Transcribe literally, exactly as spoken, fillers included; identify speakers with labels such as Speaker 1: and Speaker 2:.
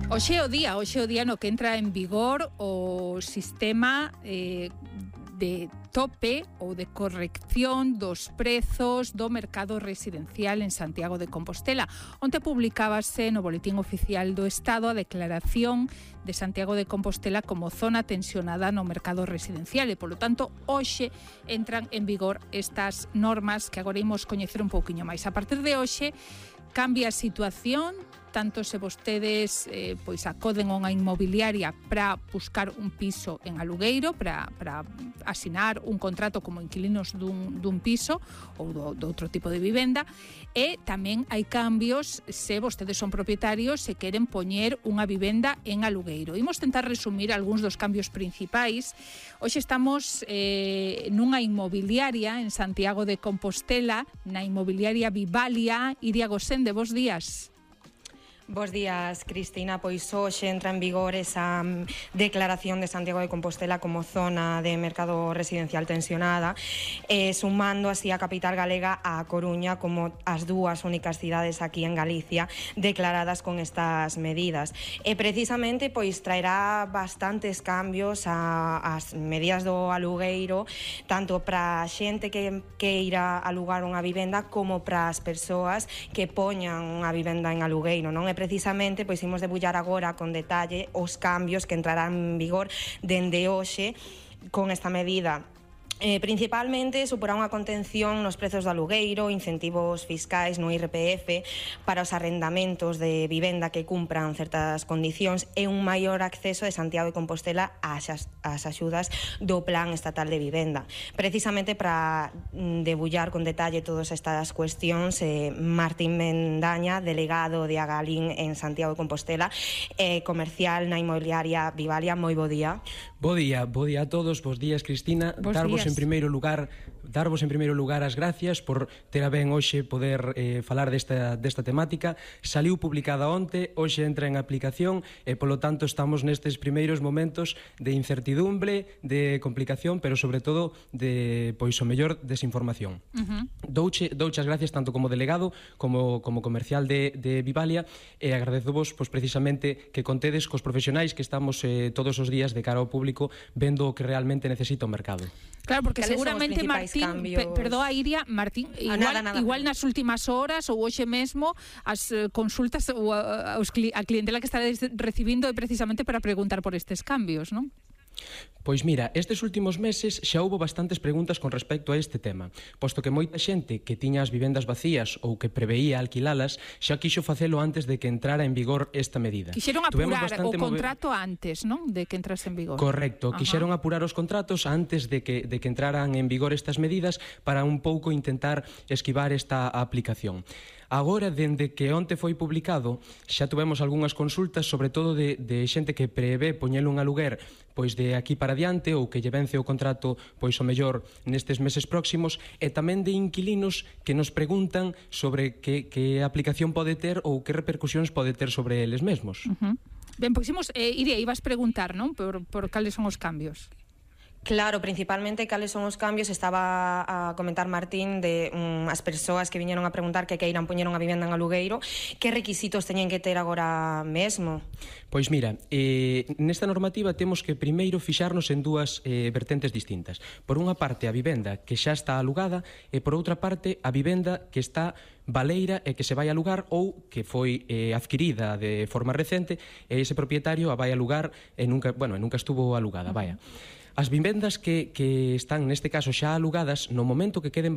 Speaker 1: Hoxe é o día, hoxe é o día no que entra en vigor o sistema eh, de tope ou de corrección dos prezos do mercado residencial en Santiago de Compostela. Onte publicábase no Boletín Oficial do Estado a declaración de Santiago de Compostela como zona tensionada no mercado residencial e, polo tanto, hoxe entran en vigor estas normas que agora imos coñecer un pouquiño máis. A partir de hoxe cambia a situación, tanto se vostedes eh, pois acoden a unha inmobiliaria para buscar un piso en alugueiro, para, para asinar un contrato como inquilinos dun, dun piso ou do, do outro tipo de vivenda, e tamén hai cambios se vostedes son propietarios e queren poñer unha vivenda en alugueiro. Imos tentar resumir algúns dos cambios principais. Hoxe estamos eh, nunha inmobiliaria en Santiago de Compostela, na inmobiliaria Vivalia. Iria Gosende, bos días.
Speaker 2: Bos días, Cristina. Pois hoxe entra en vigor esa declaración de Santiago de Compostela como zona de mercado residencial tensionada, eh, sumando así a capital galega a Coruña como as dúas únicas cidades aquí en Galicia declaradas con estas medidas. E precisamente pois traerá bastantes cambios a, as medidas do alugueiro, tanto para a xente que queira alugar unha vivenda como para as persoas que poñan unha vivenda en alugueiro, non? E precisamente pois imos debullar agora con detalle os cambios que entrarán en vigor dende hoxe con esta medida. Eh, principalmente suporá unha contención nos prezos do alugueiro, incentivos fiscais no I R P F para os arrendamentos de vivenda que cumpran certas condicións e un maior acceso de Santiago de Compostela ás, ás axudas do Plan Estatal de Vivenda. Precisamente para debullar con detalle todas estas cuestións, eh, Martín Mendaña, delegado de Agalín en Santiago de Compostela, eh, comercial na inmobiliaria Vivalia. Moi bo día.
Speaker 3: Bo día, bo día a todos, bos días, Cristina.
Speaker 1: Bos
Speaker 3: Darvos
Speaker 1: días.
Speaker 3: en primeiro lugar, darvos en primeiro lugar as gracias por ter a ben hoxe poder eh, falar desta, desta temática. Saliu publicada onte, hoxe entra en aplicación e polo tanto estamos nestes primeiros momentos de incertidumbre, de complicación, pero sobre todo de, pois o mellor, desinformación. Uh-huh. Douche, douche as gracias tanto como delegado como, como comercial de, de Vivalia, e agradezovos pois, precisamente que contedes cos profesionais que estamos eh, todos os días de cara ao público vendo o que realmente necesita o mercado.
Speaker 1: Claro, porque seguramente Martín, pe, perdoa Iria, Martín, igual,
Speaker 2: nada, nada.
Speaker 1: igual nas últimas horas ou hoxe mesmo as uh, consultas ou a, a clientela que estaréis recibindo é precisamente para preguntar por estes cambios, non?
Speaker 3: Pois mira, estes últimos meses xa houbo bastantes preguntas con respecto a este tema, posto que moita xente que tiña as vivendas vacías ou que preveía alquilalas xa quixo facelo antes de que entrara en vigor esta medida.
Speaker 1: Quixeron apurar o contrato mover... antes, non? De que entrase en vigor.
Speaker 3: Correcto, Ajá. Quixeron apurar os contratos antes de que, de que entraran en vigor estas medidas para un pouco intentar esquivar esta aplicación. Agora, dende que onte foi publicado, xa tuvemos algunhas consultas, sobre todo de, de xente que prevé poñelo un aluguer pois de aquí para diante ou que lle vence o contrato pois o mellor nestes meses próximos, e tamén de inquilinos que nos preguntan sobre que, que aplicación pode ter ou que repercusións pode ter sobre eles mesmos.
Speaker 1: Uh-huh. Ben, pois imos, eh, Iria, ibas preguntar, non? Por, por cales son os cambios.
Speaker 2: Claro, principalmente cales son os cambios. Estaba a comentar Martín de um, as persoas que viñeron a preguntar que queiran poñer unha vivenda en alugueiro, que requisitos teñen que ter agora mesmo?
Speaker 3: Pois mira, eh, nesta normativa temos que primeiro fixarnos en dúas eh, vertentes distintas. Por unha parte, a vivenda que xa está alugada, e por outra parte, a vivenda que está baleira e que se vai alugar ou que foi eh, adquirida de forma recente e ese propietario a vai alugar e nunca, bueno, e nunca estuvo alugada, vaya. As vivendas que, que están neste caso xa alugadas, no momento que queden